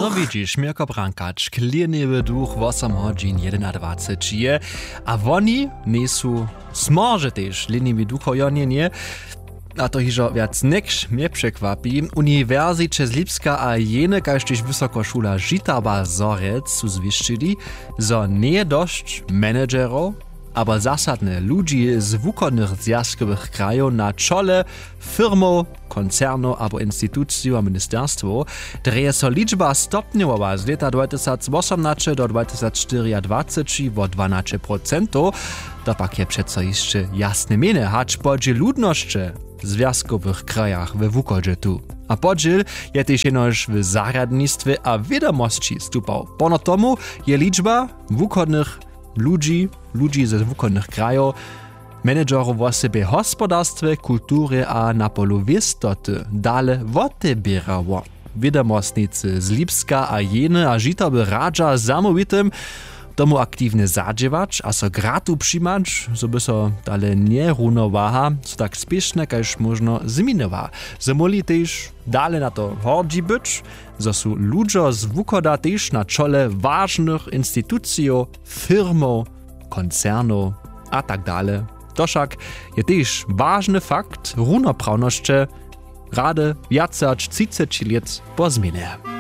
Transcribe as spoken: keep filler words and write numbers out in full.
No widźiš, měrko brankać klěniwy duch wosom hodźin jedenadwaceći je, a woni njejsu smorže tež klěniwi ducho jo njenje. A to hižo wjac něč mje překwapi. Uniwersiće z Lipska a jene kaž tež wysokošula žitaba zhorjelc su zwěsćili, zo njeje dosć managerow abo zasadnje ludźi z wuchodnych zwjazkowych krajow na čole firmow, koncernow abo institucijow a ministerstwow, drje so ličba stopnjowała z lěta dwatysacwosomnaće do dwatysacštyriadwaceći wo dwanaće procentow. To pak je přeco hišće jasne měnje hač podźěl ludnosće w zwjazkowych krajach we wuchodźe tu. A podźěl je tež jenož w zarjadnistwje a wědomosći stupał. Pono tomu je ličba wuchodnych ludźi, ludźi ze wuchodnych krajow, managerow wosebje w hospodarstwje, kulturje a na polu wěstoty dale woteběrało. Wědomostnicy z Lipska a jene a žitoby radźa zamołwitym tomu aktiwnje zadźěłać a so gratu přimać, zo by so tale njerunowaha so tak spěšnje kaž móžno změniła, zo móhli tež dale na to hordźi być, zo su ludźo z wuchoda tež na čole wažnych institucijow, firmow, koncernow a tak dale. To wšak je tež wažny fakt runoprawnosće rady wjace hač třiceći lět po změnje.